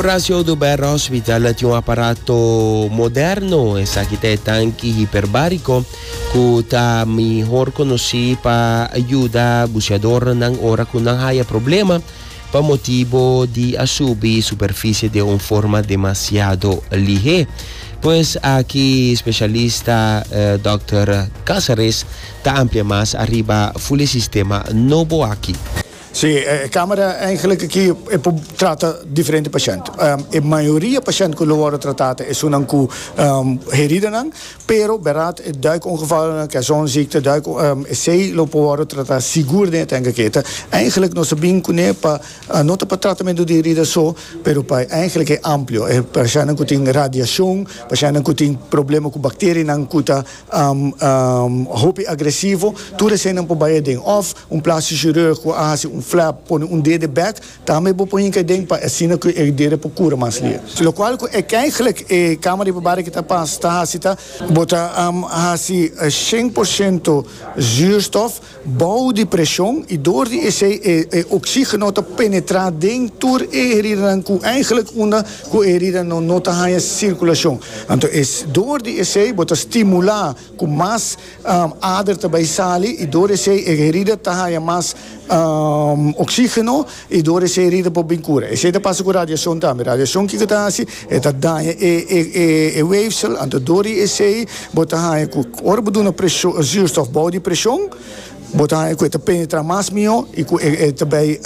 Horacio Oduber Hospital tin un aparato moderno, esaki ta e tanki hiperbarico cu ta mihor conoci pa yuda buceadornan ora cu nan haya problema pa motibo di a subi superficie den un forma demasiado lihe. Pues aki specialista Dòkter Casares ta amplia mas ariba ful e sistema nobo aki. Sí, e camera eigenlijk aki e por trata diferente pashent. E mayoria pashent ku lo wòrdu tratá ta esunnan ku heridanan, pero bèrdat e duikongevalnan, caissonziekte, duik, esei lo por wòrdu tratá sigur den e tank aki. Ta eigenlijk nos a bin kuné pa no ta pa tratamentu di herida so, pero pa eigenlijk e amplio. E pashentnan ku tin radiashon, pashentnan ku tin problema ku bakterianan ku ta hopi agresivo, tur eseinan por bai aden. Òf un plástico chirurg ku a hasi un flap, pone un dede bèk, tambe bo por hinka aden pa asina ku e dede por kura mas lihe. Lokual ku e eigenlijk e kama riba bari ki ta pas ta hasi ta, bo ta hasi 100% zuurstof Bou di preshon i dor di esei e e oxígeno ta penetrá den tur e heridanan ku eigenlijk unda ku e heridanan no ta haña sirkulashon. Anto e dor di esei bo ta stimulá ku mas ader ta bai sali i dor esei e herida ta haña mas oxígeno i dor esei e herida por bin kura. Esei ta pasa ku radiashon tambe. Radiashon kiko ta hasi? E ta daña e e e weefsel, anto dor di esei bo ta haña ku ora bo duna preshon zuurstof bou di preshon, bo ta haña ku e ta penetrá mas mihó i ku e e ta bai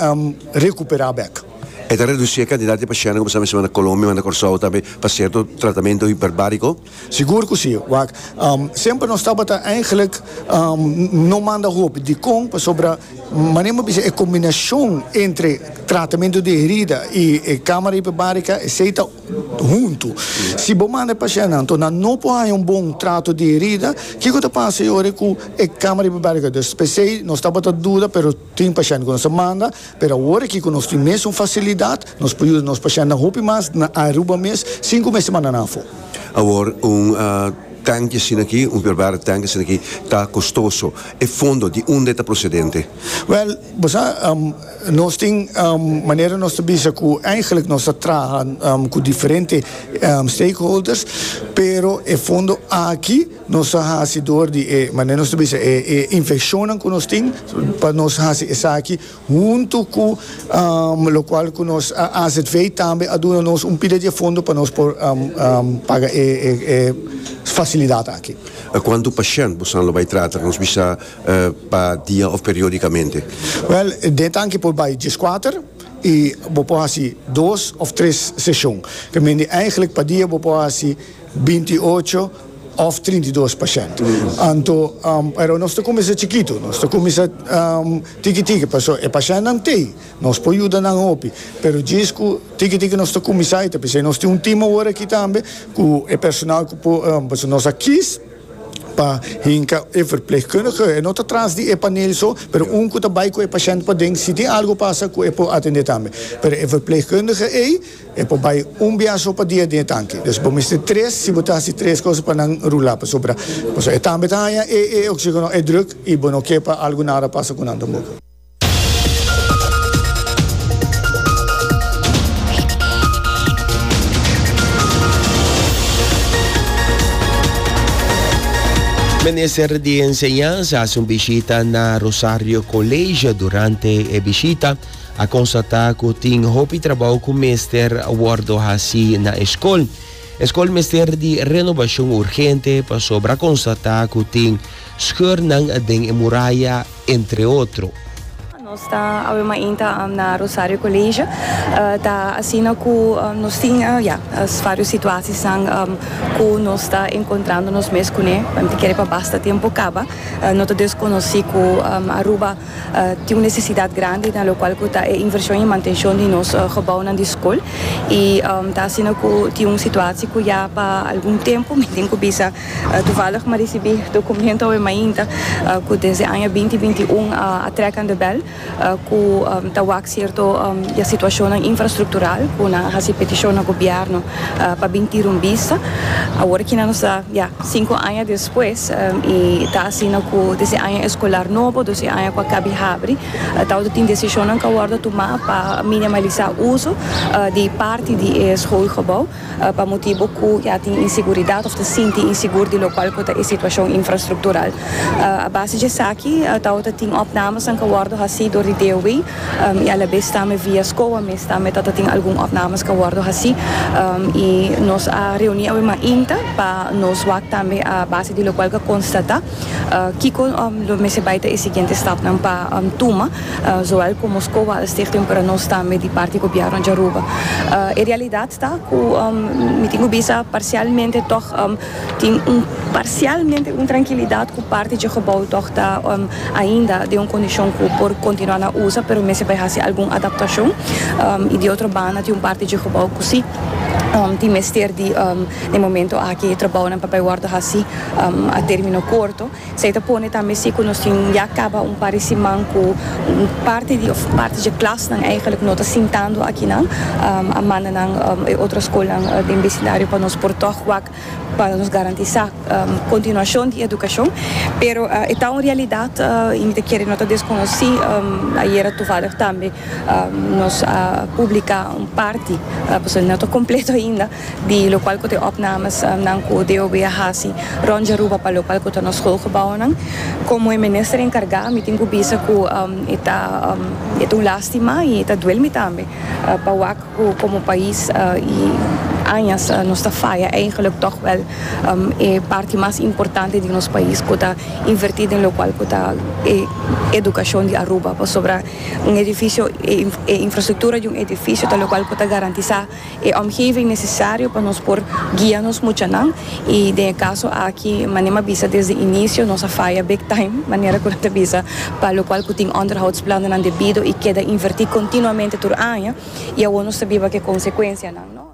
rekuperá bèk. E ta redusí e kantidat di pashèntnan ku bo sa mester manda Kolombia, manda Kòrsou tambe pa sierto tratamentu hiperbáriko? Sigur ku si. Wak, semper nos tabata eigenlijk no manda hopi. Dikon? Pasobra manera mi a bisa e kombinashon entre tratamentu di herida i e kamara hiperbarika esei ta huntu. Si bo manda e pashèntnan anto nan no por haña un bon trato di herida, kiko ta pasa e ora ku e kamara hiperbarika? Dus p'esei nos tabata duda pero tin pashènt ku nos a manda. Pero awor aki ku nos tin mesun fasilidat, nos por yuda nos pashèntnan hopi mas na Aruba mes sin ku mester manda nan afó. Awor un tanki asina aki, un verbaar tanki asina aki ta kostoso. E fondo di unda e ta prosedente? Wèl, bo sa, nos tin manera nos ta bisa ku eigenlijk nos ta traha ku diferente stakeholders, pero e fondo aki, Nos a hasi dor di e, manera nos ta bisa, e e infekshonnan ku nos tin, pa nos hasi esaki huntu ku lokual ku nos AZV tambe a duna nos un pida di e fondo pa nos por paga e e fasilidat aki. Kuantu pashènt bosan lo bai trata, nos bisa pa dia òf periódikamente? Wèl, den tanki por bai dieskuater i bo por hasi dos òf tres seshon. Ke mende eigentlik pa dia bo por hasi 28 òf 32 pashènt. Anto, pero nos ta kuminsá chikitu, nos ta kuminsá tiki tiki, pasobra e pashèntnan t'ei, nos por yuda nan hopi, pero djis ku tiki tiki nos ta kuminsá i ta p'esei nos tin un tim awor aki tambe ku e personal ku por, pasobra nos a kis pa hinka e verpleegkundige, e no ta tras di e panel so, pero un ku ta bai ku e pashènt paden, si tin algu pasa ku e por atendé tambe. Pero e verpleegkundige ei. E por bai un bia so pa dia den e tanki. Dus bo mester tres, si bo ta hasi tres cosa pa nan rula pasobra pasobra e tambe ta haña e e oxigeno e druk i bo no ke pa algu nada pasa ku nan tampoco. Minister di Enseñansa hasi un bishita na Rosario College. Durante e bishita A constata cu tin hopi trabou cu mester wordo haci na e scol. E scol mester di renobacion urgente pasobra a constata cu tin scheurnan den e muraya, entre otro. Nos ta awe mainta na Rosario College. Ta asina cu nos tin ya varios situatiesnan cu nos ta encontrando nos mes cune. Mi ta kere pa basta tempo caba. No ta desconoci cu Aruba Tin un nesesidat grandi na lokual ku ta e invershon i mantenshon di nos gebounan di skol i ta asina ku tin un situatie ku ya pa algun tempu mi tin ku bisa toevallig mi a risibí dokumento awe mainta ku desde aña 2021 a trek aan de bel. ku ta wak sierto ya situashonnan infrastruktural ku nan a hasi petishon na gobièrnu pa bin tira un bista. Awor aki nan nos ta ya sinku aña despues i ta asina ku desde aña eskolar nobo, dus e aña ku a kabi habri, tabata tin desishonnan ku a wòrdu tumá pa minimalisá uso di parti di e schoolgebouw. Pa motibu ku ya tin inseguridat òf ta sinti insigur di lokual ku ta e situashon infrastruktural. A base di esaki tabata tin opnamesnan ku a wòrdu hasí dor di DOW i alabes tambe via SCOA mes tambe tabata tin algun opnames ku a wòrdu hasí i nos a reuní awe mainta pa nos wak tambe a base di lokual ku a konstatá kiko lo mester bai ta e siguiente stapnan pa tuma zowel komo SCOA al stichting pero nos tambe di parti gobièrnu di Aruba. E realidat. Ta ku mi tin ku bisa parsialmente tòg tin un parsialmente un trankilidat ku parti dje gebou tòg ta ainda den un kondishon ku por kontinuá na usa pero mester bai hasi algun adaptashon i di otro banda tin un parti dje gebou ku si tin mester di den momento aki e trabounan pa bai wòrdu hasi a término korto. Esei ta pone tambe si ku nos tin ya kaba un par di siman ku un parti di òf parti dje klasnan eigenlijk no ta sintando akinan. A manda nan e otro skolnan den besindario pa nos por tòg wak pa nos garantisá kontinuashon di edukashon. Pero e ta un realidat i mi ta kere no ta deskonosí. Ayera toevallig tambe nos a publiká un parti, pasobra no ta kompleto ainda. Di lokual ku ta e opnames nan ku DOB a hasi rònt di Aruba pa lokual ku ta nos schoolgebouwnan. Komo e minister enkargá mi tin ku bisa ku e ta e ta un lástima i e ta duel mi tambe pa wak ku komo pais i añas nos ta faya eigenlik tòg wèl e parti mas importante di nos pais ku ta invertí den lokual ku ta e edukashon di Aruba pasobra un edifisio e infrastruktura di un edifisio ta lokual ku ta garantisá E omgeving necesario pa nos por guia nos muchanan y den e caso aki manera mi a bisa desde inicio nos a faya big time manera cu nan ta bisa pa locual cu tin onderhoudsplannen debido y keda inverti continuamente tur aña y awor nos ta biba cu e consecuencianan no.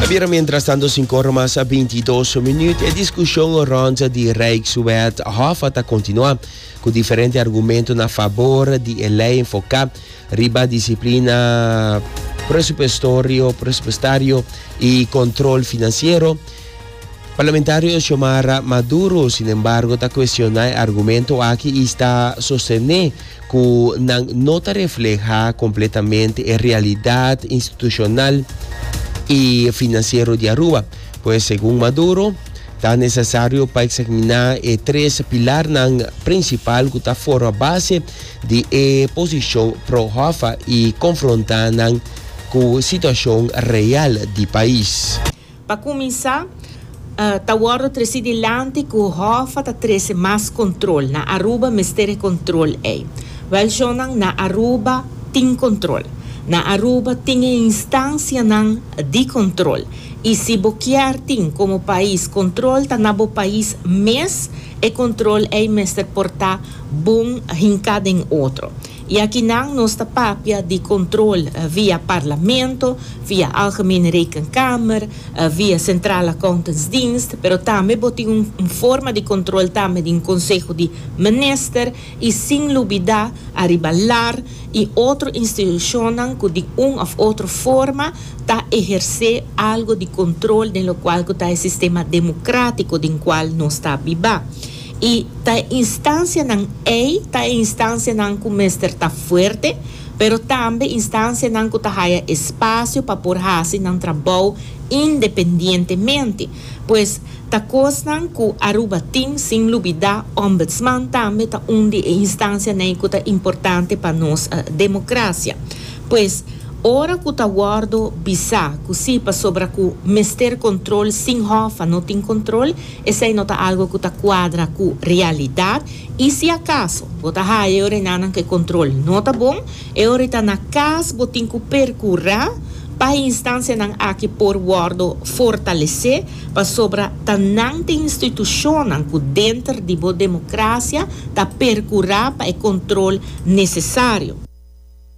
A bira mientrastanto sinkor mas 22 minuut e discusion rond di Rijkswet Hoffa ta continua. Ku diferente argumento na fabor di e lei enfoká riba disiplina presupuestorio, presupuestario i kontrol finansiero, parlamentario Xiomara Maduro sinembargo ta kuestioná e argumento aki i sta sostené ku nan no ta reflehá kompletamente e realidat institushonal i finansiero di Aruba. Pues segun Maduro, Ta nesesario pa eksaminá e tres pilarnan prinsipal ku ta forma base di e posishon pro-Hoffa i konfrontá nan ku situashon real di pais. Pa kuminsá, ta wòrdu tresí dilanti ku Hoffa ta trese mas kontrol. Na Aruba mester e kontrol ei. Wèl shonnan, na Aruba tin kontrol. Na Aruba tin e instansianan di kontrol. Y si bo kier tin como pais control ta na bo pais mes e control ey mester por ta bon hinca den otro. Y akinan nos ta papia di control via Parlamento, via Algemene Rekenkamer, via Centrale Accountantsdienst, pero tambe bo tin un forma di control tambe den Conseho di Minister y sin lubida ariba lar y otro institucionnan cu di un of otro forma ta ehersé algo di control den locual cu ta e sistema democratico den cual nos ta biba. Y ta e instancianan ey ta e instancianan cu mester ta fuerte, pero tambe instancianan cu ta haya espacio pa por haci nan trabou independientemente. Pues, ta cosnan cu Aruba tin, sin lubida Ombudsman tambe ta un di e instancianan cu ta importante pa nos democracia. Pues, ora ku ta wòrdu bisá ku sí pasobra ku mester kontrol sin hòf a no tin kontrol, esei no ta algu ku ta kuadra ku realidat i si akaso bo ta haya e orenanan ku e kontrol no ta bon, e ora ta na kas bo tin ku perkurá pa e instansianan aki por wòrdu fortalesé pasobra ta nan ta e institushonnan ku denter di bo demokrasia ta perkurá pa e kontrol nesesario.